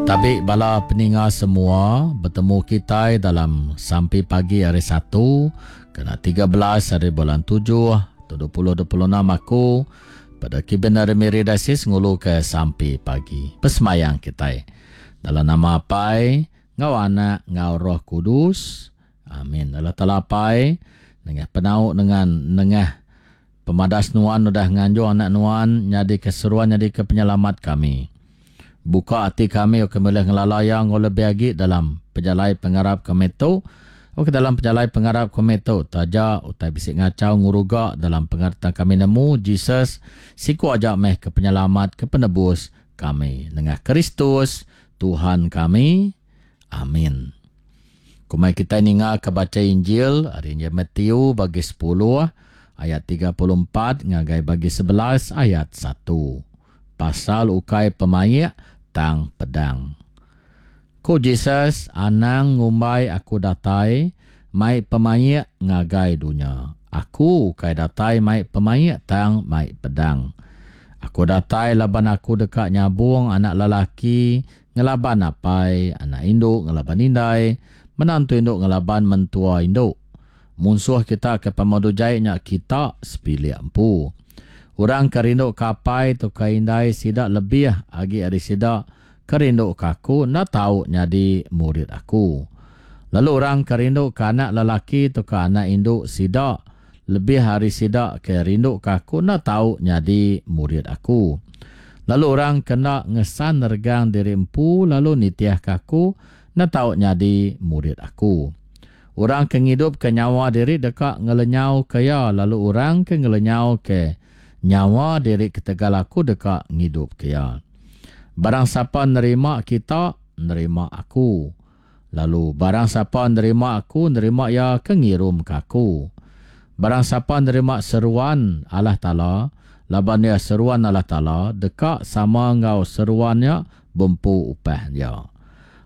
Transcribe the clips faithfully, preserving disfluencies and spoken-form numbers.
Tabi bala peninga semua, betemu kitai dalam sampi pagi hari Satu kena tiga belas hari bulan tujuh dua ribu dua puluh enam aku pada Kiben ari Miri Diocese ngulu ke sampi pagi. Pesemayang kitai dalam nama Apai ngau Anak ngau Roh Kudus. Amin. Allah Taala Apai, nengah penau dengan nengah pemadas nuan udah nganjung anak nuan nyadi keseruan nyadi ke penyelamat kami. Buka hati kami kami boleh ngelala yang lebih agi dalam pejalai pengarap kami tu. Oke, dalam pejalai pengarap kami tu taja utai bisik ngacau nguruga dalam pengertian kami nemu Jesus siku aja meh ke penyelamat ke penebus kami nengah Kristus Tuhan kami. Amin. Kumai kita ninga ke baca Injil hari Injil Matthew bagi sepuluh ayat tiga puluh empat ngagai bagi sebelas ayat satu. Pasal ukai pemaik tang pedang. Ku Jesus, anang ngumbai aku datai mai pemaik ngagai dunya. Aku ukai datai mai pemaik tang mai pedang. Aku datai laban aku deka nyabung anak lelaki ngelaban apai, anak indu ngelaban indai, menantu indu ngelaban mentua indu. Munsuh kita ke pemadu jai nya kita sepilik empu. Orang ke rindu ke apai tu ke indai sida lebih agi ari sida ke rindu ke aku enda tau nyadi murid aku. Lalu orang ke rindu ke anak lelaki tu ke anak indu sida lebih ari sida ke rindu ke aku enda tau nyadi murid aku. Lalu orang ke enda ngesan regang diri empu lalu nitih ke aku enda tau nyadi murid aku. Orang ke ngidup ke nyawa diri deka ngelenyau ke iya, lalu orang ke ngelenyau ke nyawa diri ketegal aku deka ngidup ke iya. Barang siapa nerima kita, nerima aku. Lalu barang siapa nerima aku, nerima iya ke ngirum ke aku. Barang siapa nerima seruan Allah Taala, laban ia seruan Allah Taala, deka sama enggau seruannya bempu upah dia.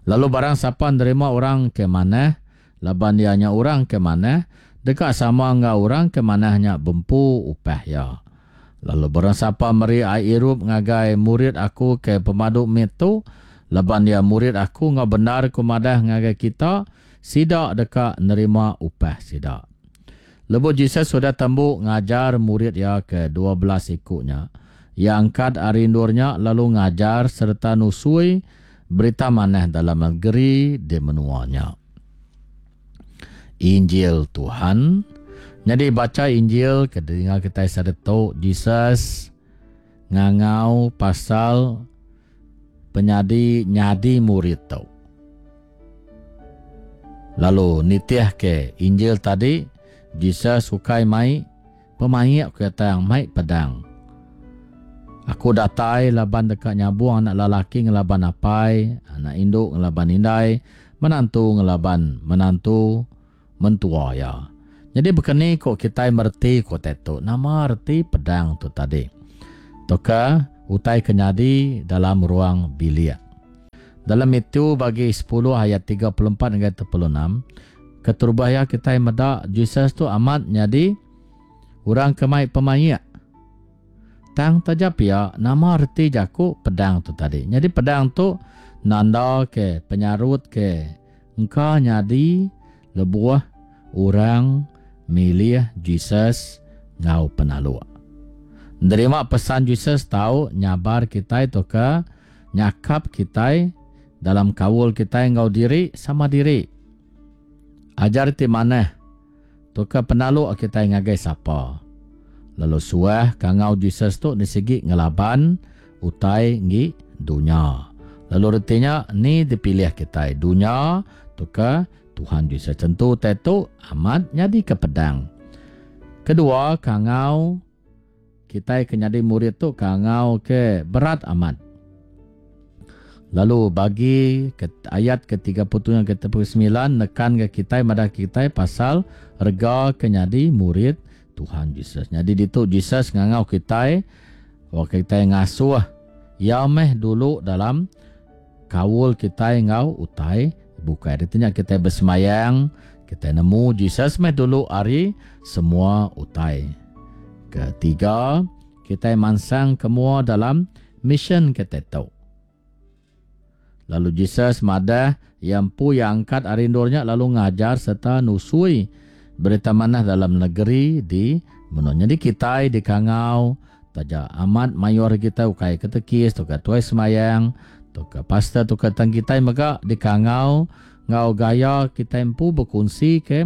Lalu barang siapa nerima orang ke manah, laban ia nya orang ke manah, deka sama enggau orang ke manahnya bempu upah ia. Lalu barang siapa meri ai irup ngagai murid aku ke pemadu mit tu, laban dia murid aku enggau benar ku madah ngagai kita, sida deka nerima upah sida. Lebuh Jesus sudah tembu ngajar murid ia ke dua belas ikunya, ia angkat ari endurnya lalu ngajar serta nusui berita manah dalam negeri di menuanya. Injil Tuhan. Jadi baca Injil ke dengar kita sadetu Jesus ngangau pasal penyadi nyadi murid tu. Lalu nitih ke Injil tadi Jesus ukai mai pemaik ke tang mai pedang. Aku datai laban deka nyabung anak lelaki ngelaban apai, anak indu ngelaban indai, menantu ngelaban menantu mentua ya. Jadi bekeni kok kita merti ko tetu. Nama reti pedang tu tadi. Toka utai kenyadi dalam ruang bilik. Dalam itu bagi sepuluh ayat tiga puluh empat hingga tiga puluh enam, keterubah ya kita meda Jesus tu amat nyadi orang ke mai pemaik. Tang taja pia nama reti jaku pedang tu tadi. Jadi pedang tu nanda ke penyarut ke engka nyadi lebuh orang milih Jesus ngau penaluk. Nerima pesan Jesus tau nyabar kitai tu ke nyakap kitai dalam kaul kitai ngau diri sama diri. Ajar ti manah tu ke penaluk kitai ngagai sapa. Lalu suah kangau Jesus tu disegi ngelaban utai ngi dunya. Lalu retinya ni dipilih kitai dunya tu ke Tuhan Jesus tentu tetu amat nyadi ke pedang. Kedua, kangau kitai ke nyadi murid tu kangau ke berat amat. Lalu bagi ke ayat ke tiga puluh tujuh ke tiga puluh sembilan nekan ke kitai madah kitai pasal rega ke nyadi murid Tuhan Jesus. Jadi ditu Jesus ngangau kitai, wak kitai ngasuh ya meh dulu dalam kaul kitai ngau utai bukai. Artinya kita bersemayang, kita nemu Jesus meh dulu ari semua utai. Ketiga, kita mansang kemua dalam mission kita tu. Lalu Jesus madah yang empu yang angkat ari endurnya lalu ngajar serta nusui berita manah dalam negeri di menua. Jadi kita di Kangau taja amat mayor kita ukai katekis tu ke tuai semayang tu ke pastor tu ke tang kita mega di Kangau ngau gaya kita empu berkongsi ke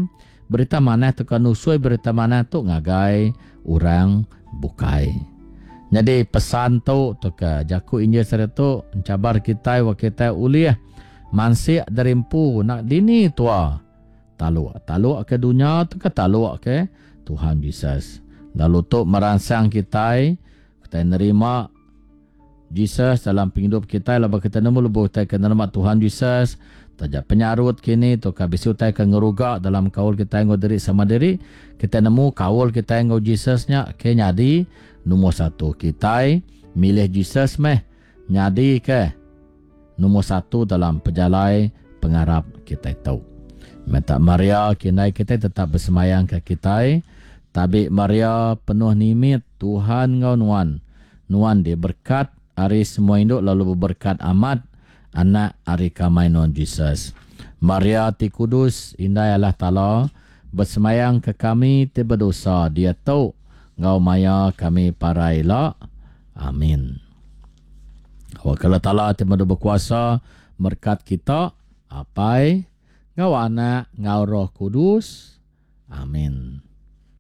berita manah tu ke nusui berita manah tu ngagai orang bukai. Jadi pesan tu tu ke jaku Injil sehari tu mencabar kita wa kita ulih mansik dari empu nak dini tua taluk taluk ke dunia tu ke taluk ke Tuhan Jesus. Lalu tu merangsang kita kita nerima Jesus dalam penghidup kita lalu kita nemu lebuh kita ke nerima Tuhan Jesus taja penyarut kini tu ka bisi utai ke ngeruga dalam kaul kita ngau diri sama diri kita nemu kaul kita ngau Jesus nya ke nyadi nombor satu kita milih Jesus meh nyadi ke nombor satu dalam pejalai pengarap kita itu. Minta Maria kinai kita tetap bersemayang ke kita. Tabi Maria penuh nimit Tuhan ngau nuan. Nuan diberkat hari semua induk lalu berberkat amat anak hari kamai nuan Jesus. Maria ti kudus indai Allah Taala bersemayang ke kami ti berdosa dia tu ngau maya kami paraila. Amin. Wakala Taala ti madu berkuasa berkat kita apai ngau anak ngau Roh Kudus. Amin.